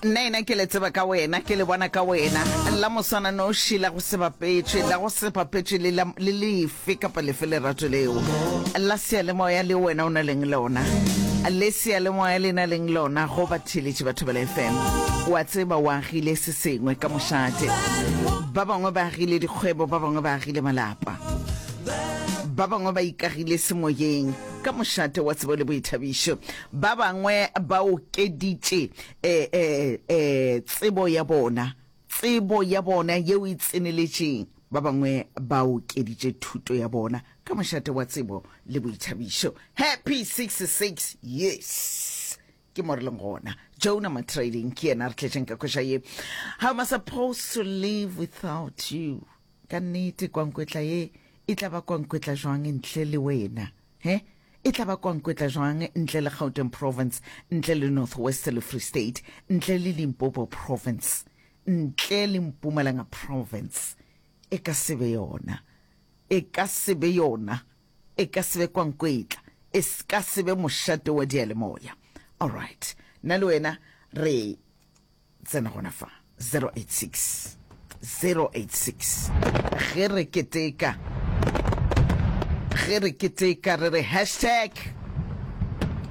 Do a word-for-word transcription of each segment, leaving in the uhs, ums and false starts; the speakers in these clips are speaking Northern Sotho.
Nna ena ke le tseba ka wena, ke le bona ka wena. La moswananoši, la go se bapetšwe, la go se bapetšwe le la, le lefe kapa lefe lerato leo. La seyalemoya leo wena o na leng lona. Le seyalemoya le na leng lona go batheeletši ba Thobela F M. Wa tseba o agile se sengwe ka mošate. Ba bangwe ba agile dikgwebo, ba bangwe ba agile malapa. Ba bangwe ba ikagile semoyeng ka mošate wa tsebo le boithabišo. Ba bangwe ba okeditše e, e, e, tsebo ya bona, tsebo ya bona yeo e tseneletšeng. Ba bangwe ba okeditše thuto ya bona ka mošate wa tsebo le boithabišo. Happy sixty-six years. Ke mo re leng gona. Jonah Matrading ke yena re tletšeng ka koša ye. How am I supposed to live without you? Ka nnete kwankwetla ye e tla ba kwankwetla jwang ntle le wena? He? E tla ba kwankwetla jwang ntle le Gauteng Province, ntle le North West le Free State, ntle le Limpopo Province, ntle le Mpumalanga Province? E ka se be yona. E ka se be yona. E ka se be kwankwetla. E ka se be mošate wa diyalemoya. All right. Nna le wena re tsena gona fa zero eight six zero eight six ge re keteka, ge re keteka re re hashtag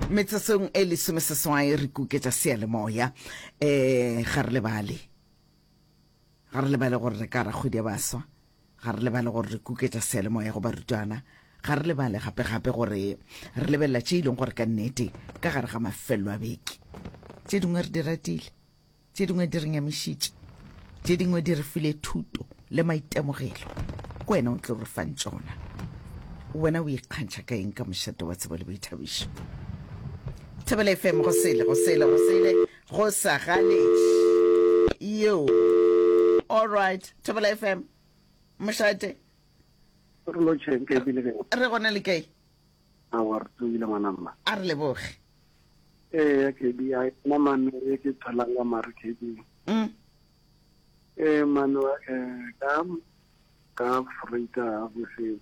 metsotsong e lesomeseswai re kuketša seyalemoya. um ga re lebale, ga re lebale gore re ka ra kgwedi ya baswa, ga re lebale gore re kuketša seyalemoya go barutwana, ga re lebale gape-gape gore re lebelela tše e leng gore ka nnete ka gare ga mafelo a beke tše dingwe re di ratile, tše dingwe di re nyamišitše, tše dingwe di re file thuto le maitemogelo. Ke wena o tlo re fang tšona. Wena o ikgantšha ka eng ka mošate wa tsebo le boithabišo? Thobela F M, go sele, go sele, go sele, go sa galetše yo. All right, Thobela F M, mošate. Re lotšheng ke ebile ke Re gona, le kae? Awa, re tsogile, ngwana mma. A re leboge. Ee, K B, a nna mane e ke tholang ka mare, K B. mm. Ee mane, um ka ka Vrydag boseng,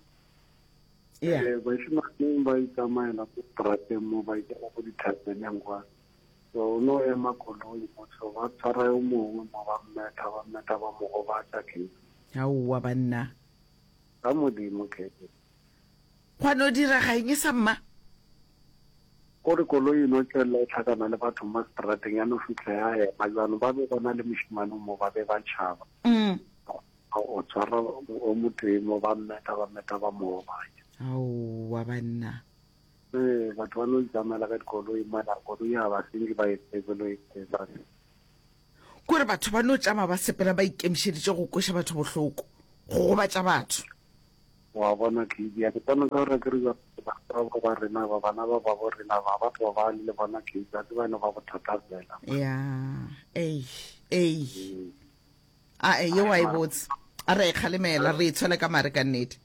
yeah um bašemane ba itsamaela ko strateng mo, ba ikela ko dithapeneng kwa, so o no ema koloi mo, so ba tshwara yo mongwe mo, ba mmetha, ba mmetha, ba mo gobatša, K B. Aowa banna. Ka Modimo, K B. Gwa no direga eng e sa mma? Kore koloi e no tswelela e tlhakana le batho mo strateng, ya no fitlha ya ema jalo, ba be ba na le mošemane mo, ba be ba tšhaba. Mm. O tshwara o motee mo, ba mmetha, ba mmetha, ba mo gobatša. Aowa banna. Ee, batho ba no itsamaela ka dikoloi mara koloi ya ba senke ba e tsebe lo e tseba. Kore batho ba no tšama ba sepela ba ikemišeditše go kweša batho bohloko, go gobatša batho. Wa bona, K B, ya ke tsena ka gore ke re batho ba rena ba, bana ba babo rena ba, batho ba ba le bona, K B, a tseba eno ba bothata fela. Ya, ei ei, a e ye wa e botse, a re e kgalemela, re e tshwele ka mare ka nnete.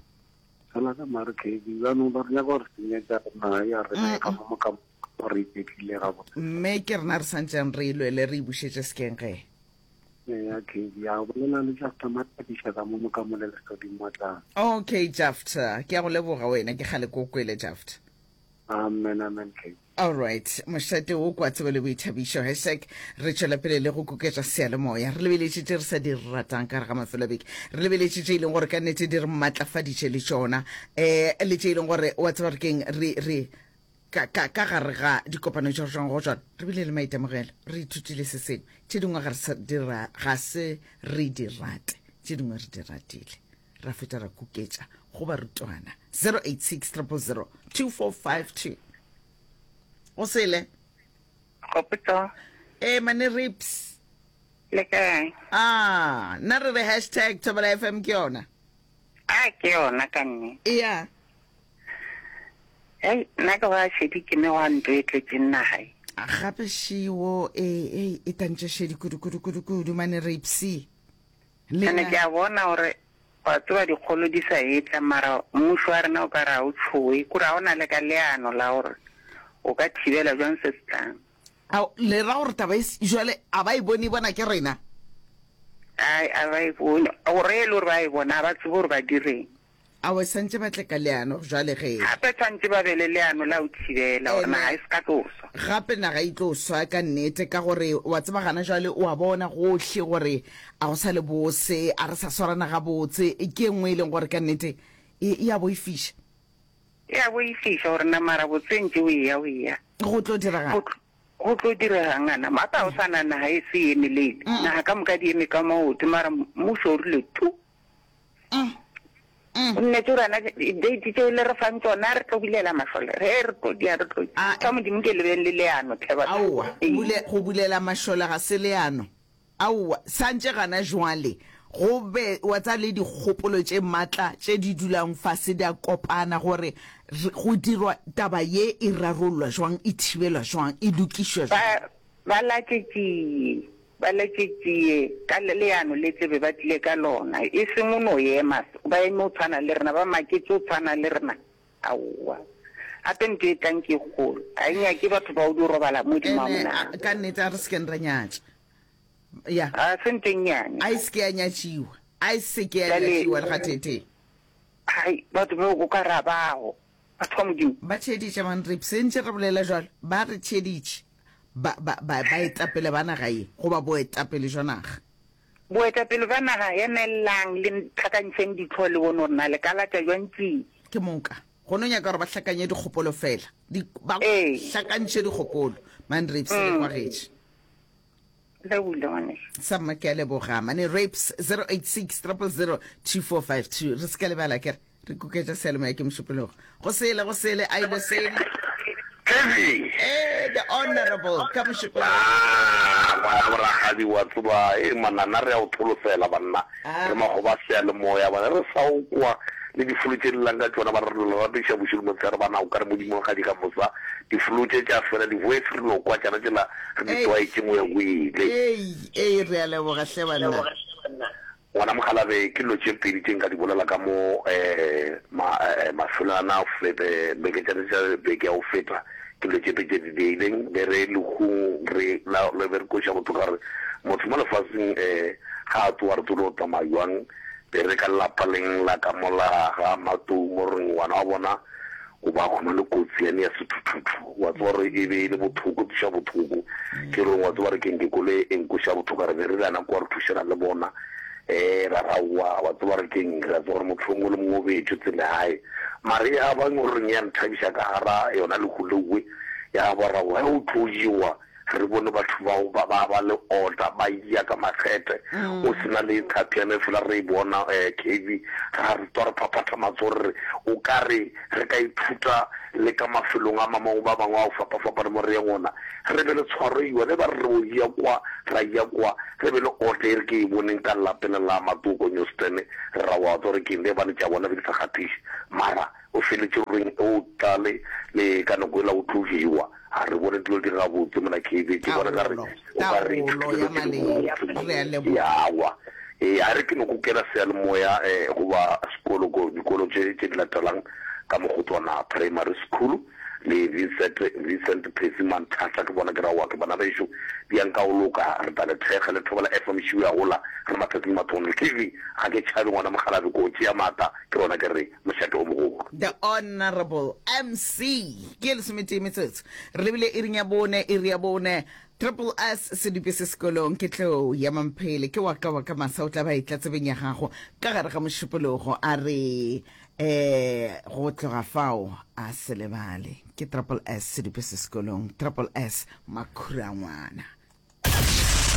Fela ka mare, K B, jaanong ba re nyaka gore senyetsa rena ya rena ka mo ka mo re iketlile gabotse. Mme ke rena re santseng re e lwele, re e bušetše sekeng ge. Ya, K B, a bolela le Jafta Matakiša ka mo mo ka mo le lesodimo tla. Okay Jafta, ke ya go leboga wena, ke kgale ko kwele, Jafta. Amen, amen, K B. Alright, mošate wo kwa tsebo le boithabišo, hashtag re tšwela pele le go kuketša seyalemoya. Re lebeletše tše re sa di ratang ka gare ga mafelo a beke, re lebeletše tše e leng gore ka nnete di re maatlafaditše le tšona, um le tše e leng gore wa tseba re keng re re ka ka ka gare ga dikopano tša re tšwang go tšona re bile le maitemogelo, re ithutile se sengwe. Tše dingwe ga re sa dira, ga se re di rate, tše dingwe re di ratile, ra feta ra kuketša go barutwana. zero eight six zero zero two four five two, go sele. Gopotso. E mane rips. Le kae? Ah, nna re re hashtag Thobela F M ke yona. A ke yona ka nnete. Iya. Hei, nna ke ba šedi ke ne wa ntlo e tletseng naga e. Gape šiwo e e e tantše šedi kudu kudu kudu kudu mane ripsy. Ene ke a bona gore wa tseba dikgolo di sa etla, mara mmušo wa rena o ka re ga o tšhoe, kore ga o na le ka leano la gore o ka thibela jwang se se tlang. Ao, le ra gore taba e jwale a ba e bone, e bona ke rena? Ai, a ba e bone, gore e le gore ba e bona, a ba tsebe gore ba direng. Aowa, santše ba tle ka leano jwale ge. Gape tshwantše ba be le leano la go thibela gore naga e se ka tlo swa. Gape naga e tlo swa ka nnete, ka gore wa tseba gana jwale o a bona gohle gore a go sa le bose, a re sa swarana gabotse. Ke e nngwe e leng gore ka nnete e, e a boifiša. E a boifiša gore na mara botse ntše o eya o eya. Go tlo diregang? Go, go tlo diregang ana? Gape ga o sa na naga e se e emelele. Naga ka moka di eme ka maoto, mara mmušo o rile tu. O nnete gore ana date tšeo le re fang tšona re tlo bulela mašole, re re tlo dia, re tlo A, ka Modimo ke le beng le leano tlhe batho. Aowa, Ee. bule, go bulela mašole ga se leano. Aowa, santše gana jwale go be wa tsa le dikgopolo tše matla tše di dulang fase di a kopana gore re, go dirwa taba ye e rarollwa jwang, e thibelwa jwang, e lokišwa jwang. Ba, ba latše tšie, ba latše tšie ka le, leano le tle be ba tlile ka lona, e seng o no ema, ba eme o tshwana le rena, ba maketše o tshwana le rena. Aowa. Gape ntho e tlang ke e kgolo, ga e nyake batho ba o di robala mo Ene, a, dimamona. ka nnete a re se keng ra nyatša. Ya. Ga se ntho e nnyane. A e se ke ya nyatšiwa. A e se ke ya Bjale, nyatšiwa le gateetee. hai, batho bao o ka re a bago, batho ba Modimo. Ba theeditše, man, re sentše re bolela jwalo. Ba re theeditše. Ba, ba, ba, baetapele ba naga ye, goba boetapele jwa naga. Boetapele bja naga, emellang le hlakantšheng ditlhogo le bone gore na le ka latša bjang tšie. Ke moka. Go no nyaka gore ba hlakanye dikgopolo fela. Di, ba Ee. hlakantšhe dikgopolo. Man, Rapes, le Mm. kwagetše. Le bule, ngwanešu. Sa mma, ke a leboga. Mane Rapes, zero eight six, triple zero, two four five two. Re se ka lebala, ke re, re kuketša seyalemoya ke Mošupologo. Go sele, go sele, a ile sele. Kevin. Eh, the honorable, ka Mošupologo. Ah, ngwana boragadi wa tseba, e manana re a o tholofela banna. Ah. Re magoba a seyalemoya bana re sa o kwa le difolo tše di llang ka tšona ba re re ratiša bošego le motshegare bana o ka re Modimo ga di ka mosa difolo tše tša fela di-voice re no kwa tšana tšela re di Ei. tlwaetše go ya go ile. Ei, ei, re a leboga hle banna. Ngwana Mokgalabe, ke dilo tše pedi tše nka di bolela ka mo eh, ma, eh, mafelong ana a fete, beke tša tša beke ya go feta, ke dilo tše pedi tše di diileng, be re lehung re la, le be re kweša bohloko ka gore motho mo lefaseng eh, ga a tsoga re tsebe o tsamaya jwang, be re ka lelapa leng la ka mola ga Matou mo reng ngwana wa bona o ba khumane kotsi yane ya sethuthuthu, wa tseba gore e be e le bothoko, tliša bothoko, ke reng wa tseba re keng ke koloi e nkweša bothoko, re be re le ana kwa re thušana le bona, eh, ra raowa, wa tseba re keng, re a tseba gore motho o mongwe le mongwe o beetšwe tsela ya hae, mare ya ba goreng ya nthabiša ka gara yona lehu lewe, ya ba raowa, ge o tlo jewa, re bone batho bao ba ba ba le order, ba ya ka makgethe, o sena le thapi ya fela re e bona, eh, K V, ra re tswa re phaphatha matsogo re re, o ka re re ka ithuta le ka mafelong a mamangwe ba bangwe a go fapafapana mo re yang gona, re be le tshwaro yone, ba re re o ya kwa, ra ya kwa, re be le order e re ke e boneng ka lapeng la Matoko Newston, re ra wa tswa re ke eng, le bane tša bona be di sa kgathiše, mara o feletše reng o tlale le ka nako ela o tlo jewa. A re bone dilo di gabotse mona K V, ke bona ka re Taolo, o ka re taolo ya ithutile dilo tse di maleba. botse. Re a leboga. Yawa. Ee, a re ke no kukela seyalemoya, eh, goba sekolo ko dikolo tše tše di latelang ka Mogotswana Primary School le Vincent, Vincent Percy Manthata, ke bona ke ra wa ke bana bešo di yang ka o loka, re tla le thekga le thobela F M šiu ya gola re matsatsing mathong. K V, ga ke tšhabe ngwana Mokgalabe, ko tšea maatla ke rona ke re mošate o mogolo. The Honorable M C ke lesometee metsotso re lebile iring ya bone, iri ya bone, Triple S sedupe se sekolong ke tlo ya mamphele ke wa ka wa ka masa o tla ba e tla tsebeng ya gago ka gare ga mošupologo a re eh go tloga fao a se lebale ke Triple S sedupe se sekolong, Triple S makhura ngwana.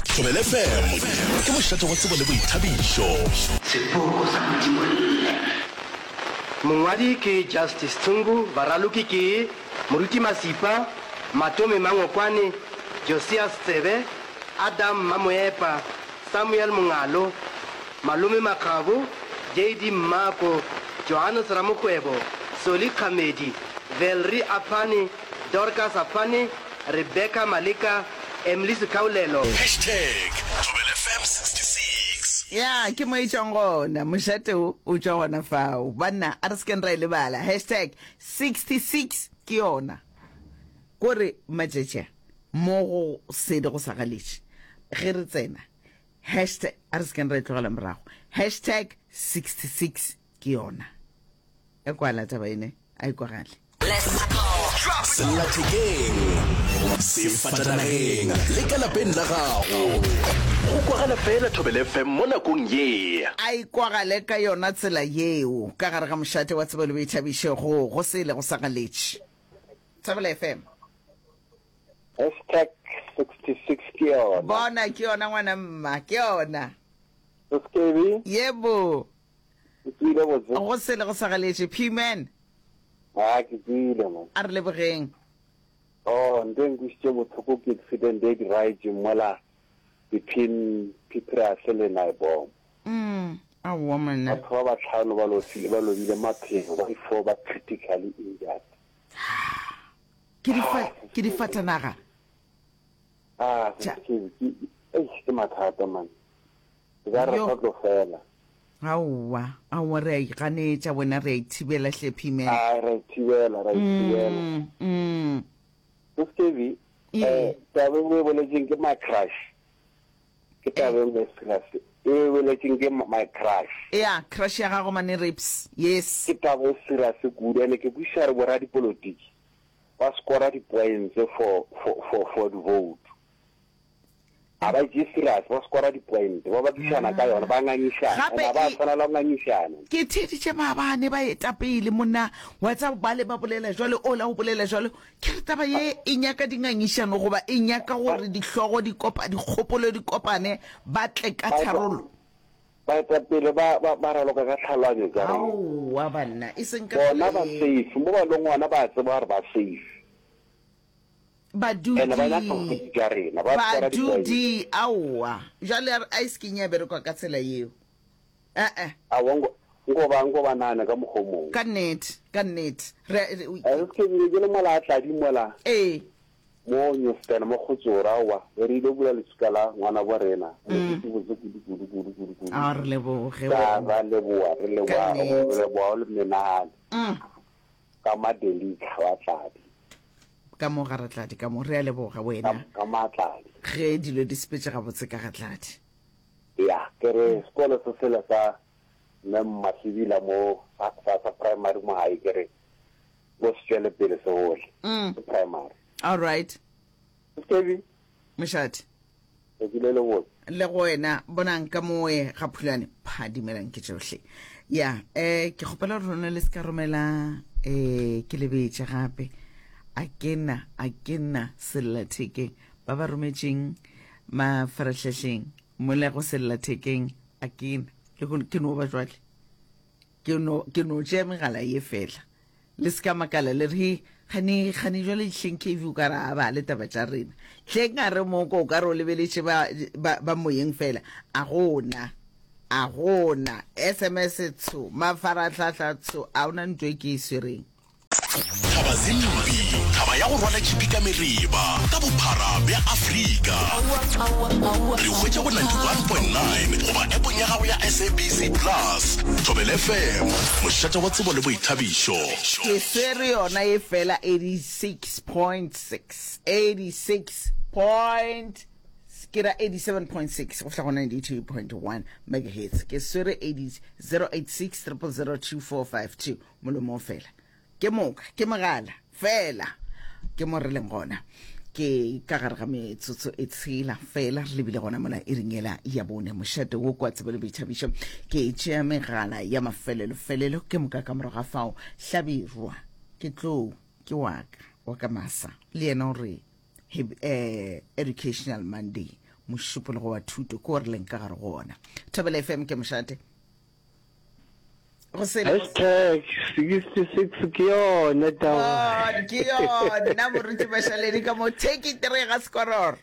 Thobela F M ke mošate wa tsebo le boithabišo. Sepoko sa Modimo nne. Mongwadi ke Justice Tshungu, baraloki ke Moruti Masipa, Matome Mangokwane, Josias Tsebe, Adam Mamoepa, Samuel Mongalo, Malome Makgabo, J D Mmako, Johannes Ramokgwebo, Soli Kgamedi, Valerie Aphane, Dorcas Aphane, Rebecca Maleka, Emily Sekaulelo. Hashtag Thobela F M sixty-six. Ya, ke mo e tšwang gona, mošate o, o tšwa gona fao. Banna, a re se keng ra e lebala. Hashtag sixty-six ke yona. Kore matšatši a, mo go sedi go sa galetše. Ge re tsena, hashtag, a re se keng ra e tlogela morago. Hashtag sixty-six ke yona. E kwala taba ene, a e kwagale. Sellathekeng, sefatanageng le ka lapeng la gago. Go kwagala fela Thobela F M mo nakong ye. A e kwagale ka yona tsela yeo ka gare ga mošate wa tsebo le boithabišo go go sele go sa galetše. Thobela F M. Hashtag sixty six ke yona. Bona, ke yona ngwana mma, ke yona. Seskebi. Yebo. Ke tswile botse. Go sele go sa galetše. P-man. A ke tswile man. A re lebogeng. Oh, nto e nkwisitše bohloko ke accident e diraetše mola between Petrus le Naibom. Mm, aowa monna. Batho ba bahlano ba lofile, ba lobile maphelo, ba di-four ba critically injured. Ke difa, ke difatanaga. Ah, Tša. ke, ke, eish, ke mathata man. E ka re Yo. sa tlo fela. Aowa, aowa, re a iganetša wena, re a ithibela hle, P-man. Ah, ra ithibela, ra ithibela. Mm, mm. Seskebi, Ee. eh, taba e o e boletseng ke my crush. Ke taba e nngwe e serious. E o e boletseng ke my crush. Ya, crush ya gago mane Rips. Yes. Ke taba e serious kudu, ene ke kwešiša gore boradipolotiki ba scora di-points for, for, for, for di-vote. Ga ba tšee serious, ba scora di-point, ba bakišana ka yona, ba ngangišana. Gape And ga ba e- tshwanela go ngangišana. Ke theeditše maabane baetapele monna wa tsa bale ba bolela jwalo, ola o bolela jwalo. Ke re taba ye e nyaka dingangišano goba e nyaka gore dihlogo di kopa, dikgopolo di kopane, ba tle ka Baeta- tharollo. Baetapele ba, ba, ba raloka ka tlhaloganyo tša rena. Aowa banna, e seng ka Bona tsela ba ye. safe, mo ba leng gona ba tseba gore ba safe. Badudi. Ene ba nyaka go tša rena, ba scora di-points. Badudi, aowa. Jwale a re a e se keng ya berekwa ka tsela yeo. Eh-eh. Aowa, nko, nko ba, nko ba nahane ka mokgwa o mongwe. Ka nnete, ka nnete. Re, re, A se ke bile ke le mola a tladi mola. Ee. Mo Newstan, mo Kgotsoro, aowa, re ile bula leswika la ngwana bo rena. Re ke botse kudu, kudu, kudu, kudu, kudu. A re leboge Ka wena. ra leboa, re leboa, Ka nnete. re leboa o le menagane. Mm. Ka Madelika wa Tladi. Ka mo ga Ratladi, ka mo re a leboga wena. Ka, ka Matladi. Ge dilo di sepetše gabotse ka ga Tladi. Ya, ke re sekolo se sela sa Mme Mmasebila mo sa, sa, sa primary mo gae, ke re bo se tšwele pele se gole. Mm. Se primary. All right. Skebi. Mošate. Ke le lebotse. Le go wena, bonang ka moe ga Phulane, phadimelang ke tšohle. Ya, eh, ke kgopela gore lona le se ka romela, eh, ke lebetše gape. A ke na, a ke na sellathekeng. Ba ba rometšeng mafarahlahleng, mola go sellathekeng, a ke na. Le go, ke no ba jwale. Ke no, ke no tšea megala ye fela. Le se ka makala le re, he, gane, gane jwale hleng K V o ka re a ba le taba tša rena. Hleng a re moko o ka re o lebeletše ba, ba, ba moyeng fela. A gona, a gona. S M S tsho, mafarahlahla tsho, a ona ntho e ke e swereng. Thaba Zimbi, thaba ya go rwala tšhipi ka mereba ka bophara bja Afrika. Re hwetša go ninety-one point nine goba appong ya gago ya S A B C Plus. Thobela F M, mošate wa tsebo le boithabišo. Ke swere yona e fela eighty-six point six, eighty-six point, ke ra eighty-seven point six go fihla go ninety-two point one megahertz. Ke swere eighty, zero eight six triple zero two four five two molomo o fela. Ke moka, ke mogala fela. Ke mo re leng gona. Ke ka gare ga metsotso e tshela fela re lebile gona mola e ringela ya bone mošate wo kwa tsebo le boithabišo. Ke tšea megala ya mafelelo-felelo ke moka ka morago ga fao Hlabirwa ke tlo ke waka wa ka masa le yena o re eh, Educational Monday mošupologo wa thuto ke o re leng ka gare go ona. Thobela F M ke mošate. Go sele go Hashtag sixty-six ke yone taba. Oh, ke yona moruti Mashaledi ka mo take it re ga skororo.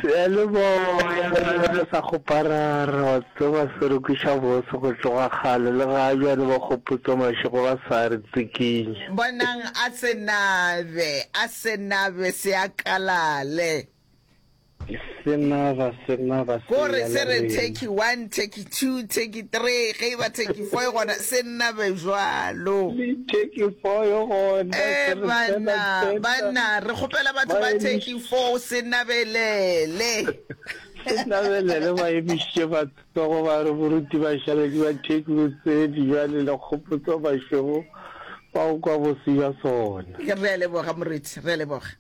Seyalemoya re sa kgoparara wa tseba se re kweša bose go tloga kgale le ga bjale ba kgopotsa mašego ba sa re tsikinya. Bonang a se nabe, a se nabe se a kalale. Se naba, se naba, se Ko re ya se le re rena. Turkey one, Turkey two, Turkey three, ge e ba Turkey four e gona, se nabe bjalo. Le Turkey four e gona, Eh, se re tsena banna, tsena. banna, re kgopela batho Ba ba emiš- Turkey four, se nabelele. Se nabelele, ba emišitše matsogo ba re boruti ba šale ke ba Turkey botsedi bjale le kgopotso bašego ba go kwa bose bja sona. Re a leboga, moruti, re a leboga.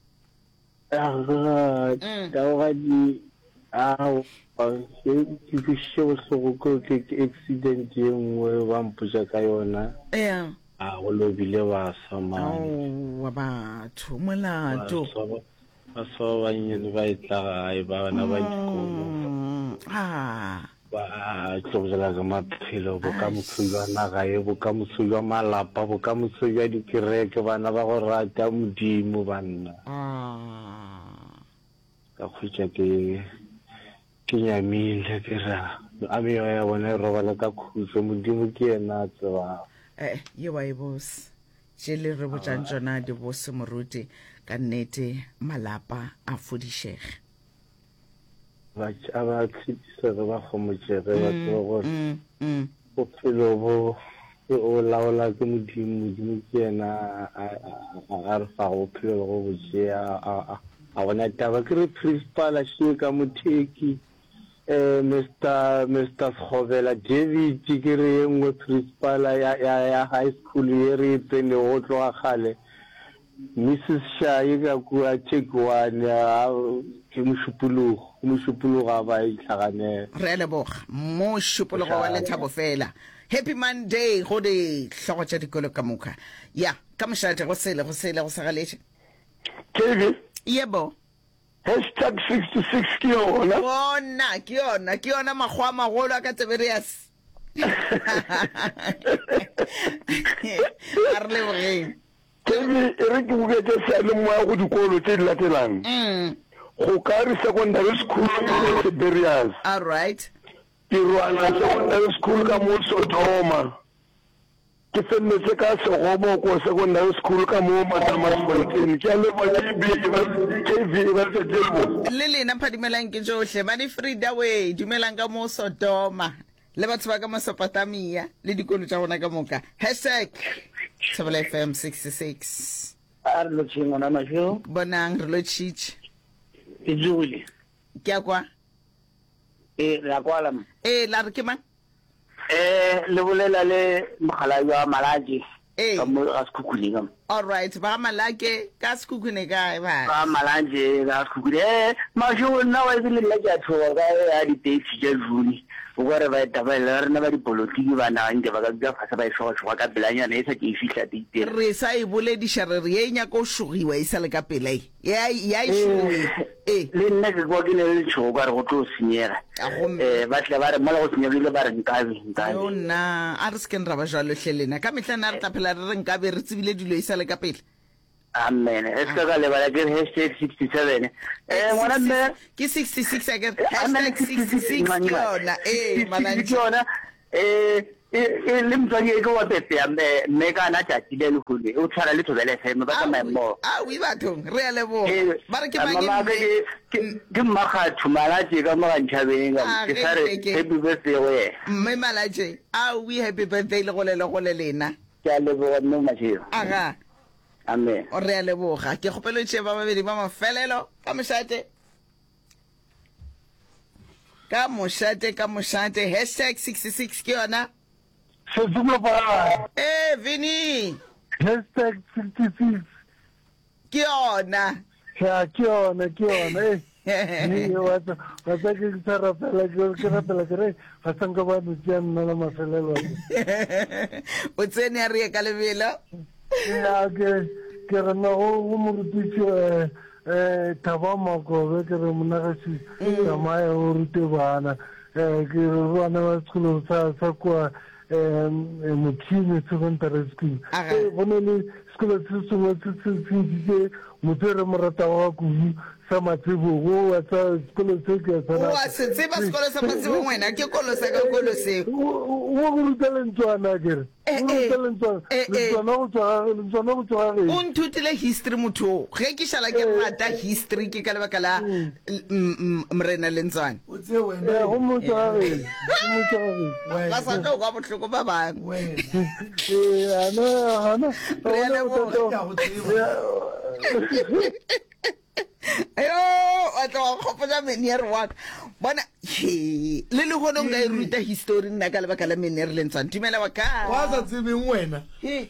Aga, Mm. taogadi, aowa, ke ke kwešiše bohloko ke ke ke accident ye nngwe ba mpotša ka yona. Yeah. A go lobile baswa mane. Aowa batho, molato. Baswa ba baswa ba bannyane ba etla gae, bana ba dikolo. Mm, ah. Ba tlogela ka maphelo, bokamoso bja naga ye, bokamoso bja malapa, bokamoso bja dikereke, bana ba go rata Modimo, banna. Ka hwetša ke, ke nyamile, ke re, a meoya ya bona e robale ka khutšo, Modimo ke yena a tsebago. Eh, ye wa e bose. Tše le re botšang tšona di bose, moruti, ka nnete malapa a fodišege. Ba a ba tshedisege, ba homotšege, ba Mm, tsebe gore mm, mm. bophelo bo o laola ke Modimo. Modimo ke yena a, a, a, a re fago bophelo le go bo tšea. A, a, a gona taba. Ke re principal a šie ka motheki, eh, Mister, Mister Sekgobela David, ke re ye nngwe principal ya, ya, ya high school ye re e tsenego go tloga kgale. Missus Shayi ka kua Turkey one, a, ke Mošupologo, ke Mošupologo a ba itlhaganela. Re a leboga. Mošupologo wa lethabo fela. Happy Monday go dihlogo tša dikolo ka moka. Ya, ka mošate go sele, go sele, go sa galetše. K V? Yebo. Hashtag sixty-six ke yona. Bona, ke yona, ke yona makgowa a magolo a ka Tiberias. A re lebogeng. K V, e re ke buketše seyalemoya go dikolo tše di latelang. Mm. Gokari Secondary School ka mo Tiberias. All right. Tirwana Secondary School ka mo Sodoma. Ke feleletše ka Segoboko Secondary School ka mo Matamasfontein. Ke a leboga K B, e ba, K V, e ba letšatši le lebotse. Le lena phadimelang ke tšohle. Mane Frida we, dumelang ka mo Sodoma. Le batho ba ka Mesopotamia le dikolo tša gona ka moka. Hashtag Thobela F M sixty-six. A re lotšheng ngwana Mašego. Bonang re lotšhitše. Ke tsogile. Ke a kwa. Ee, re a kwala mo. Ee, la re ke mang? Eh, le bolela le mogala wa Malake. Ee. Ka mo ga Sekhukhune ka mo. All right, ba Malake ka Sekhukhune kae ba? Ba Malake ka Sekhukhune. Eh, Mašego nna wa ebile nna ke a tshoga ka ya di-dates tša June. O ka re ba etapele ba rena ba dipolotiki ba naga nke ba ka dula fase ba e šoga-šoga ka pelanyana e sa ke e fihla date ela. Re sa e bolediša re re ye e nyaka go šogiwa e sa le ka pela e. Ya, ya e šogiwe. Eh, le nna ke kwa ke ne le letšhogo ka re go tlo senyega. A gomme. Eh, ba tle ba re mola go senyegile ba re nkabe, nkabe. Yo nna, a re se keng ra ba jwalo hle lena. Ka mehla nna re tla phela re re nkabe re tsebile dilo e sa le ka pele. Amen. E se ka lebala ke re hashtag sixty-seven. Eh, ngwana mme. Ke sixty-six a ke re. Amen, Hashtag sixty-six ke yona. Eh, sixty-six Malantši. ke yona. Eh, eh, eh, le motswadi e ke wa Pepe, mme, mme ka ana tšatši le lehono, o tshwana le Thobela F M, ba tsamaya mmogo. Aowi, aowi bathong, re a leboga. Eh, Ba re ke mang mama mme? ke, ke, ke Mmakgatho Malatše ka mo Gantšhabeng, ka mo. Ah, Ke sa re ge, ge, ge. happy birthday go yena. Mme Malatše, aowi, happy birthday le gole le gole lena. Ke a leboga mme Mashego. Aga. Amen. O re a leboga. Ke kgopelo tše ba babedi ba mafelelo ka mošate. Ka mošate, ka mošate. Hashtag sixty-six ke yona. Setsimo pa. Eh, Vinny. Hashtag sixty-six. Ke yona. Ya, ke yona, ke yona. Eh. Ee, wa tsa, wa tsa ke sa rapela, ke, ke rapela ke re, ga sa nka ba no tšea nna la mafelelo. O tsene a re ye ka lebelo. Ya, ke, ke re no go, go morutiši, eh, eh, Thabo Makobe, ke re monagešo, Mm. tsamaya o rute bana. Eh, ke re bana ba sekolo sa, sa kua, eh, Mokhine Secondary School. Aga. Eh, go na le sekolo se sengwe se se se ntšhitše motho e re mo ratago ga kudu, sa Matsebong, wa sa sekolo se ke a se O a se tseba sekolo sa Matsebong wena, ke kolo sa ka kolo seo. O go ruta lentswana ke re. Eh, O eh. ruta lentswana, Eh, eh. lentswana go tswa ga, lentswana go tswa ga O geno. nthutile history motho o. Ge ke šala ke rata history ke ka lebaka la l- m- m- Morena Lentswana. O tsee wena. Eh, gomme o tswa ga geno. Gomme o tswa ga geno. Ba sa tlo kwa bohloko ba bangwe. Eh, ana, ana. Re a Ona leboga. bothata- Ke a go tseba. Yo, wa tla wa nkgopotša meneer wa ka. Bona, he, le lehono nka e ruta history nna ka lebaka la meneer Lentswana. Dumela wa ka. Wa sa tsebeng wena. He,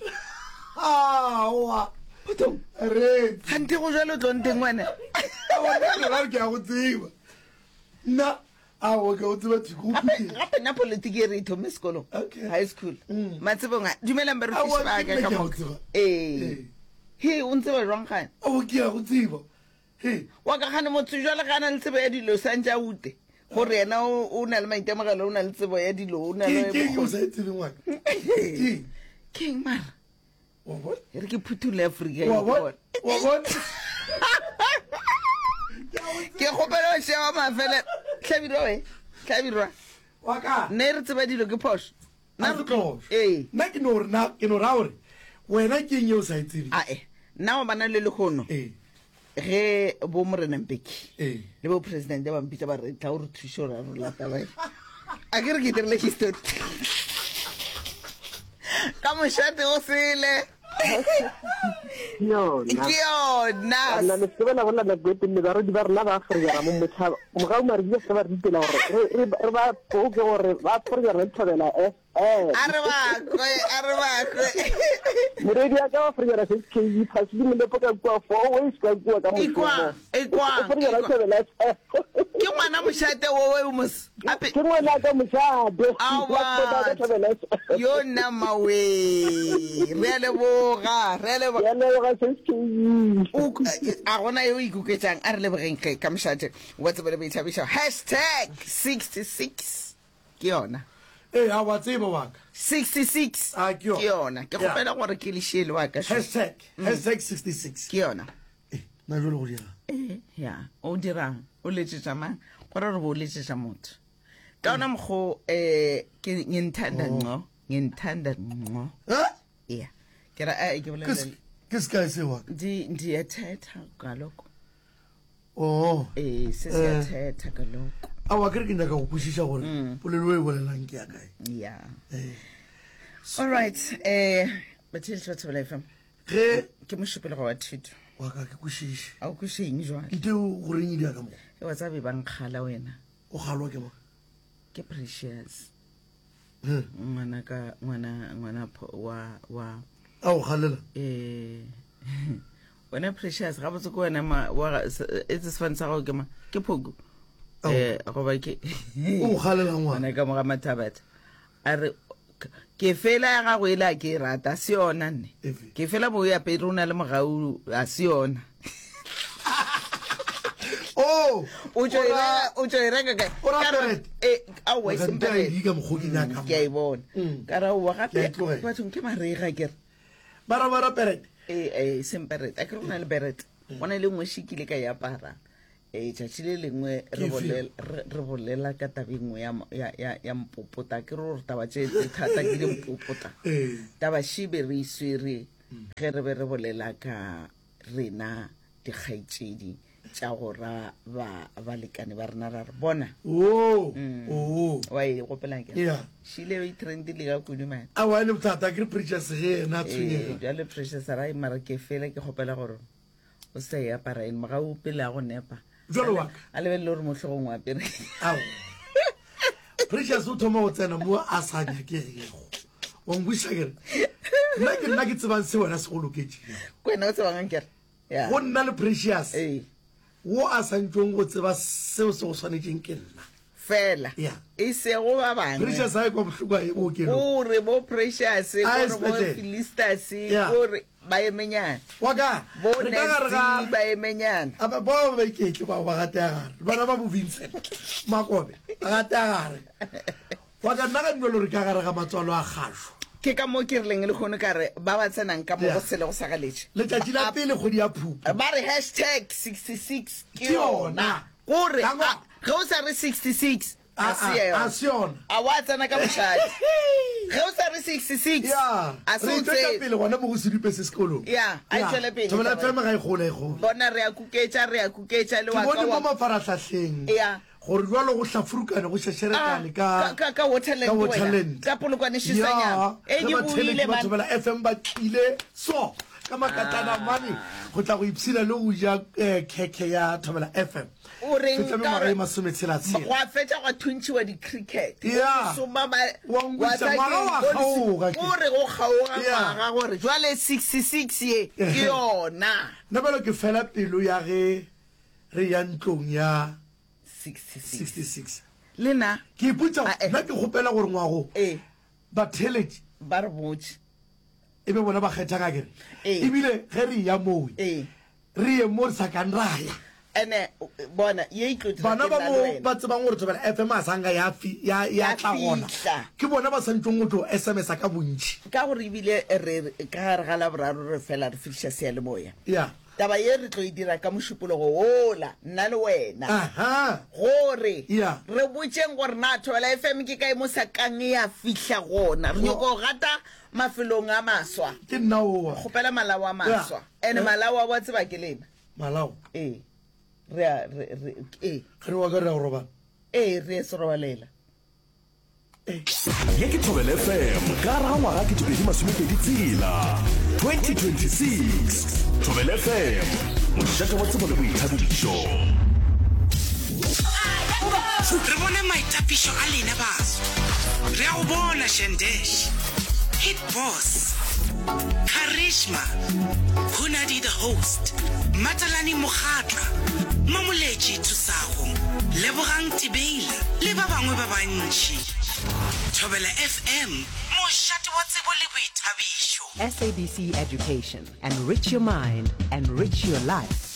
Aowa. Potong. Re. Gante go jalo tlo nteng wena. Aowa, nna ke ke a go tseba. Nna, aowa, ke a go tseba thwi, ke go Gape phutela. gape nna politiki e re e thome sekolong. Okay. High school. Mm. Matsebong a dumelang Aowa, barutiši ba ke ka nna ka ke a go moka. tseba. Ee. Ee. He, o ntseba jwang gane? Aowa, ke a go tseba. He. Wa ka gane motho jwale ga a na le tsebo ya dilo santse a ute. Gore yena o o na le maitemogelo, o na le tsebo ya dilo, o na Ke le ke eng o bokgoni. sa e tsebeng wa ka? Ke eng? Ke eng mara? Wa bona? E re ke phuthulle Afrika Wa e bona? bona. Wa bona? Ke kgopela go sheba mafele. Hlabirwa we. Hlabirwa. Wa ka. Nne re tseba dilo ke phošo. Nna re phošo. Ee. Nna ke no re na ke no ra gore wena ke eng ye o sa e tsebeng? Ae. Nna wa bana le lehono. Ee. Ge bo Morena Mbeki Ee. le bo president ba mpitša ba re tla o re thuše gore a rola taba e. A ke re ke dirile history. Ka mošate o sele. Yona. Ke yona. Nna le se bela bolela nako e telele barodi ba rena ba Afrika mo motšhaba. Mogau mare di se ba re ditela gore re re re ba poke gore ba Afrika re thobela F M. A re ba kwe, a re ba kwe. Moredi ya ka wa Afrika ra S K E pass le molepo ka kua four ways ka kua ka mošomo. Ekwang, ekwang, Afrika ra ekwang. thobela F M. Ke ngwana mošate wo we mos. Ape Ke ngwana ka mošate. Aowa. Ka thobela F M. Yo nna mawe. Re a leboga, re a leboga. Ke a leboga S K E. O a gona yo ikoketšang a re lebogeng ge ka mošate wa tsebo le boithabišo. Hashtag sixty-six ke yona. Ee, a wa tseba wa ka. sixty-six A, ke yona. ke yona. Ke Yeah. kgopela gore ke lešele wa ka. Hashtag, hashtag sixty-six. Ke yona. Eh, nna jwale go dirang? Eh, ya, o dirang? O letsetša mang? Gore re bo o letsetša motho. Ka ona mokgo eh ke ngithanda ngqo, ngithanda ngqo. Ha? Yeah. Ke ra eh ke Ke bolela se- ke sekae seo wa ka? ndi ndiyathetha kaloku. Oh. Eh, se Eh. siyathetha kaloku. Aowa, ke re ke nyaka go kwešiša gore polelo e bolelang ke ya kae. Yeah. Eh. All right, eh batheletši ba Thobela F M. Ge ke mošupologo wa thuto. Wa ka ke kwešiše. A o kweše eng jwale? Nte o goreng e dia ka mo? E wa tsa be ba nkgala wena. O kgalwa ke mang? Ke Precious. Hmm. Ngwana ka ngwana ngwana pho- wa wa A o kgalela? Eh wena Precious ga botse ke wena ma wa ga- se- e tse sefane sa gago ke ma ke Phoku. Eh goba ke O kgalela ngwana. Ngwana ka mo ga Mathabatha. A re ke fela ya gago e le a ke e rata se yona nne. Efe? Ke fela bo ya pere o na le mogau a se yona. Oh, O tšo e reka, o tšo e reka kae? O ra Ka re- Perete? Eh, aowa, e Wa ka seng nta Perete. I D ka mokgo ke nyaka. Ke a e bona. Mm. Ka ra owa Ke a gape e tlogela. bathong ke marega ke re. Ba ra ba ra Perete. Eh, eh, seng Perete. A ke re go na le Perete. Go na le nngwe šikile ka e apara. Eh, tšatši le lengwe re Ke efe? bolela, re, re bolela ka taba e nngwe ya mo-, ya, ya, ya mpopota. Ke re gore taba tše tse thata ke di mpopota. Eh. Taba še be re e swere ge re be re bolela ka rena dikgaetšedi tša go ra ba balekane ba rena ra re bona. Oh, Mm. oh. Wa e gopolang ke? Yeah. Šile e trendile ka kudu mane. Aowa, e le bothata, ke re Precious ge yena a Eh, tshwenyega. bjale Precious a ra e mara ke fela ke kgopela gore o sa e apara eng mogau pele a go nepa. Jwalo wa ka. A lebelele gore mohlogong wa apere. Ao. Precious o thoma go tsena mo a sa nyakegego. Wa nkwešiša ke re? Nna ke nna ke tsebang se wena se go loketšego. Ke wena o tsebang akere? Yeah. Go nna le Precious. Ee. Wo a sa ntšong go tseba seo se go swanetšeng ke nna. Fela. Yeah. E sego ba bangwe. Precious a e kwa bohloko a ye bookelong. Gore bo Precious, A ye gore bo sepetlele. Philistas, Yeah. gore ba emenyana. Wa ka, Bo re ka gare ga- Nancy ba emenyana. A ba, bao ba iketle bao ba gatea gare. Bana ba bo Vincent Makobe, ba gatea gare. Wa ka nna ga dumelo re ka gare ga matswalo a kgašo. Ke ka moo ke rileng lehono ka re ba ba tsenang ka mo Yeah. go sele go sa galetše. Letšatši la pele kgwedi ya Phupu. Ba re hashtag sixty six ke Ke yona. yona. Gore Ka ngwa- a- ge o sa re sixty six A- a se a- yona. a se yona. A wa tsena ka mošate. Ge o sa re sixty six Ya, a se re o e tšwetša tsebe. pele gona mo go sedupe se sekolong. Ya, a e Ya, tšwele pele Thobela taba F M ga e gole, e gole. Bona re a kuketša, re a kuketša le Ke wa ka bone mo wa mafarahlahleng Ya. gore jwalo go hlafurukane go šešerekane Ah, ka ka- ka- ka Waterland ka wena. Waterland. Ka Polokwane Shisanyama. Ya, Eh, ge di batheeletši boile, ba man. Thobela F M ba tlile so ka makatana Ah. mane go tla go ipshina le go ja, eh, khekhe ya Thobela F M. O reng Fetša ka mengwaga gore e masometshela-tshela. Gwa fetša gwa thuntšhiwa di-cricket. Ya. Go soma ba- Wa nkweša, wa tla ngwaga ke wa go kgaoga ke. O re go kgaoga Ya. ngwaga gore jwale sixty six ye ke yona. Nna bjalo ke fela pelo ya ge re ya ntlong ya sixty six. sixty six. Le nna. Ke ipotša, Ah, eh. nna ke kgopela gore ngwago Eh. batheeletši ba re botše. E be bona ba kgethang akere. Eh. Ebile ge re ya moo, Eh. re ye mo re sa kang ra ya. Ene, bona, ye e tlo dira Bana ke ba nna mo le wena. ba tsebang gore Thobela F M a sanka ya fi-, ya, ya Ya tla gona. fihla. Ke bona ba santšong go tlo S M S-a ka bontši. Ka gore ebile re, re, ka gare ga Laboraro re fela re fihliša seyalemoya. Ya. Taba ye re tlo e dira ka mošupologo wola, nna le wena. Aha. Gore Ya. re botšeng gore na Thobela F M ke kae mo sa kang ya fihla gona. Re nyoko go gata mafelong a maswa. Ke nna oa. Kgopela malao a maswa. Ya. Ene Eh. malao a wa tseba ke lena. Malao? Ee. Re a, re, re, ee. Re wa ka re ya go robala. Ee, re ye serobalela. Ye ke Thobela F M ka gare ga ngwaga ke tšepedi masomepedi tshela, twenty twenty-six. Thobela F M, mošate wa tsebo le boithabišo. Re bone maitapišo a lena baso. Re a go bona Shandesh, Hit Boss, Karishma, Hunadi the host, Matalani Mogatla, Mamoletši Thusago, Lebogang Tibeila le ba bangwe ba bantši. Thobela F M, mošate wa tsebo le boithabišo. S A B C Education. Enrich your mind, enrich your life.